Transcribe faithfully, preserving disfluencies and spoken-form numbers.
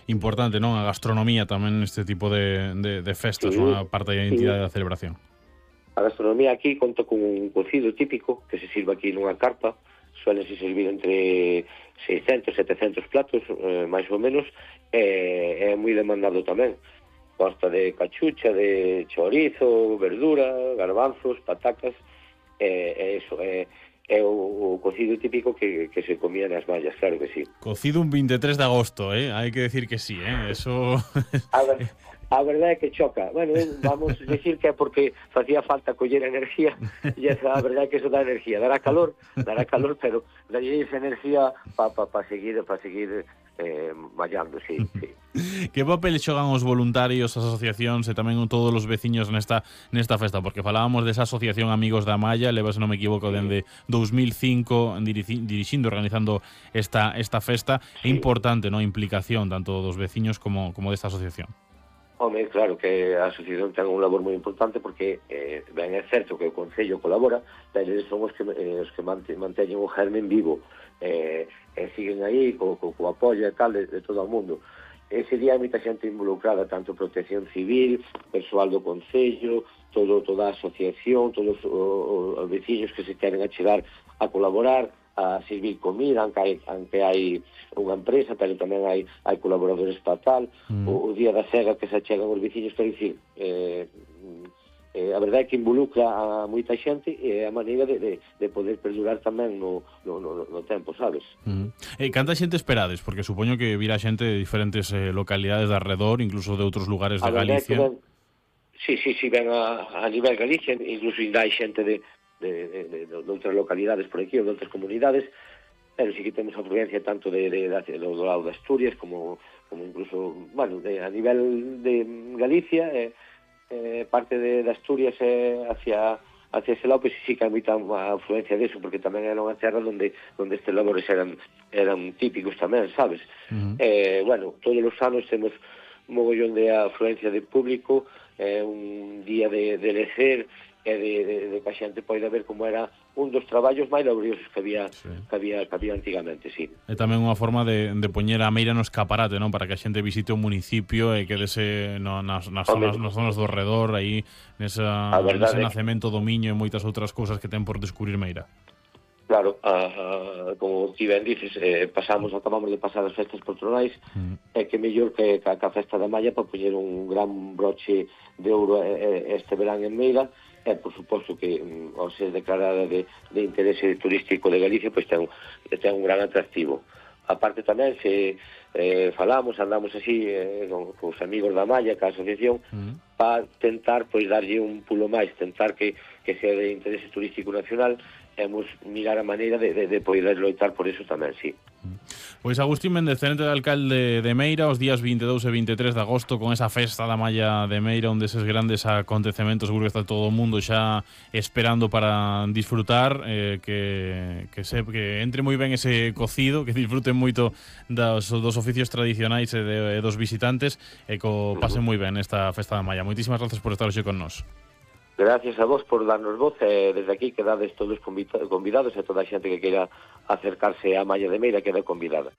Importante, non? A gastronomía tamén neste tipo de, de, de festas, Sí, non? A parte da sí. identidade da celebración. A gastronomía aquí conta con un cocido típico que se sirve aquí nunha carpa. Suelen se servir entre seiscentos, setecentos platos, eh, máis ou menos, e é moi demandado tamén. Consta de cachucha, de chorizo, verdura, garbanzos, patacas, e, e eso, é, é o, o cocido típico que, que se comía nas mallas, claro que sí. Cocido un veintitrés de agosto, eh? Hai que decir que sí, eh? Eso... A ver, a verdade é que choca. Bueno, vamos decir que é porque facía falta coller enerxía, e esa, a verdade é que eso dá enerxía. Dará calor, dará calor, pero dalle esa enerxía para pa, pa seguir, pa seguir eh, mallando, sí, sí. Que papel xogan os voluntarios, as asociacións e tamén todos os veciños nesta nesta festa? Porque falábamos desa asociación Amigos da Malla, leva, se non me equivoco, dende dous mil cinco dirixindo, organizando esta esta festa. É importante, non, a implicación tanto dos veciños como como desta asociación. Home, claro que a asociación ten un labor moi importante porque eh, ben é certo que o Concello colabora, pero eles son os que, eh, os que manteñen o germen vivo, eh, e siguen aí co, co, co apoio e tal de, de todo o mundo. Ese día hai moita xente involucrada, tanto Protección Civil, persoal do Concello, todo, toda a asociación, todos os, os veciños que se queren achegar a colaborar, a servir comida, aunque hai, aunque hai unha empresa, pero tamén hai, hai colaboradores para tal, mm. o, o día da cega que se achegan os veciños, quero dicir, eh, eh, a verdade é que involucra a moita xente e é a maneira de, de, de poder perdurar tamén no, no, no, no tempo, sabes? Mm. Eh, canta xente esperades? Porque supoño que virá xente de diferentes eh, localidades de arredor, incluso de outros lugares de Galicia. Ben, sí, sí, sí, ven a, a nivel Galicia, incluso ainda hai xente de De, de, de, de outras localidades por aquí ou de outras comunidades, pero sí que temos afluencia tanto de, de, de, de, do lado de Asturias como, como incluso, bueno, de, a nivel de Galicia, eh, eh, parte de, de Asturias eh, hacia hacia ese lado, pois pues, sí que hai moita afluencia deso, porque tamén era unha terra onde, onde estes labores eran, eran típicos tamén, sabes? Uh-huh. Eh, bueno, todos os anos temos un mogollón de afluencia de público, eh, un día de, de lecer, e de, de, de que a xente poida ver como era un dos traballos máis laboriosos que había, sí. que había, que había antigamente, sí. É tamén unha forma de, de poñer a Meira no escaparate, non? Para que a xente visite o municipio e quedese no, nas, nas, zonas, nas zonas do redor, aí nesa, nese nacemento do Miño e moitas outras cousas que ten por descubrir Meira. Claro, a, a, como ti ben dices, eh, pasamos, acabamos de pasar as festas patronais, mm. é que mellor que, que a festa da Malla para poñer un gran broche de ouro este verán en Meira. E, por suposto, que ao ser declarada de, de interese turístico de Galicia, pois ten, ten un gran atractivo. A parte tamén, se eh, falamos, andamos así eh, con, con os amigos da Malla, ca asociación, mm. para tentar, pois, darlle un pulo máis, tentar que, que sea de interese turístico nacional, e mirar a maneira de, de, de poder loitar por eso tamén, sí. Pois Agustín Méndez, tenente de alcalde de Meira, os días veintidós e veintitrés de agosto, con esa festa da Malla de Meira, onde eses grandes acontecementos, seguro que está todo o mundo xa esperando para disfrutar, eh, que, que, se, que entre moi ben ese cocido, que disfruten moito dos, dos oficios tradicionais e, de, e dos visitantes, e que pasen moi ben esta festa da Malla. Moitísimas gracias por estar hoxe con nós. Gracias a vos por darnos voz, e desde aquí quedades todos convidados e toda a xente que queira acercarse á Malla de Meira queda convidada.